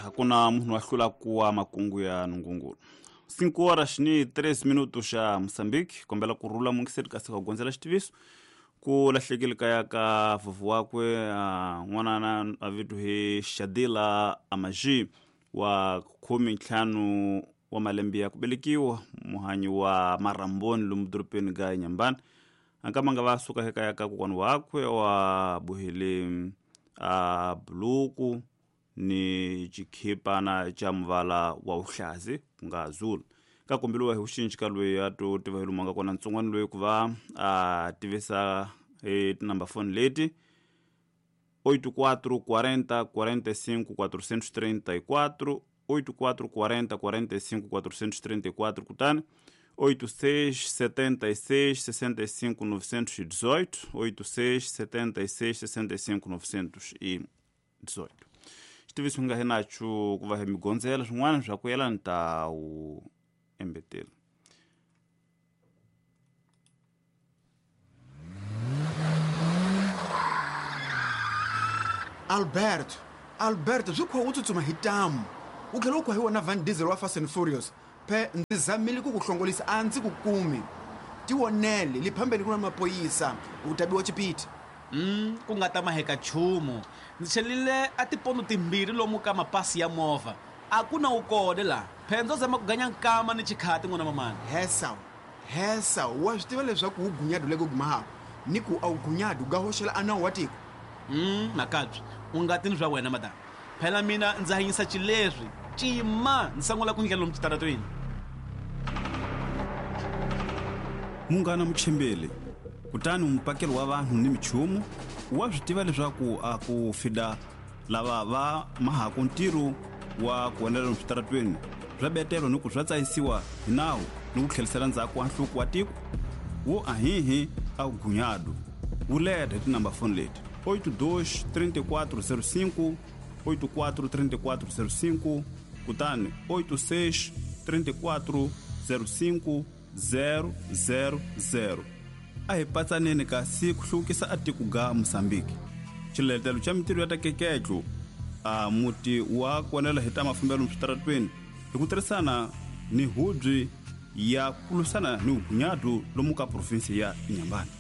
Hakuna munhu wa hlula kuwa makungu ya nungungulu. 5 horas ni 3 minutos xa Moçambique, kombela ku rhula mungiseri kasi ka gondzela xitiviso ku lahlekile kaya ka vuvu wakwe n'wanana a vito hi Shadila Amaji wa 15 wa malembe ya ku velekiwa, muhanyi wa Maramboni lomu dorobeni ga Nyambani. Ankama nga va suka ekaya ka kokwana wakwe wa bohile a buluku ni xikhipana xa muvala wa wuhlazi ku nga zulu. Ka kombeliwa hi vuxinci ka loyi a to tiva hi lomu a nga kona ntsongwana loyi ku va a tivisa hi tinumber phone leti 84 40 45 434, 84 40 45 434, kutani 86 76 65 918, 86 76 65 918. Xitiviso nga hi nacho ku va hi migondzela swin'wana swa ku yelana ta wu embetela. Alberto, Alberto, swi kha u tsutsuma hi tamu u tlhela u kha hi wona Van Diesel wa Fast and Furious. Phe ndzi zamile ku ku hlongolisa, a ndzi ku kumi. Tivonele le phambeni ku na mapoyisa, u ta biwa chipiti. Ku nga ta maheka nchumu. Ndzi chelile a tipondo timbirhi lomu ka mapasi ya movha. A ku na wu kone laha. Phe ndzo zama ku ganya nkama ni chikhati n'wana mamani. Hesa, hesa, wa swi tiva leswaku wu gunyadu le ku gumahako ni ku a wu gunyadu ga hoxela a nawu wa tiko. Makabye, u nga tini swa wena madam. Phela mina ndza hanyisa xileswi. Cima, ndzi sangula ku ndlela lomu xitaratweni. Munghana Muchembele, kutani mupakeli wa vanhu ni michumu wa swi tiva leswaku a ku fida lava va mahaku ntirho wa ku endlela lomu switaratweni swa betelo ni ku swa tsayisiwa hi nawu ni ku tlherisela ndzhaku wa nhluko wa tiko wo ahihi a gunyadu wu leta hi tinumber phone leti 82 34 05, 84 34 05, kutani 86 34 05 000. A hi patsaneni kasi ku hluvukisa a tiko ga Mosambiki. Xiletelo xa mintirho ya ta keketlo a muti wa konela hi ta mafambelo switaratweni hi ku tirhisana ni hubyi ya ku lwisana ni vugunyadu lomu ka provinsi ya Inhambane.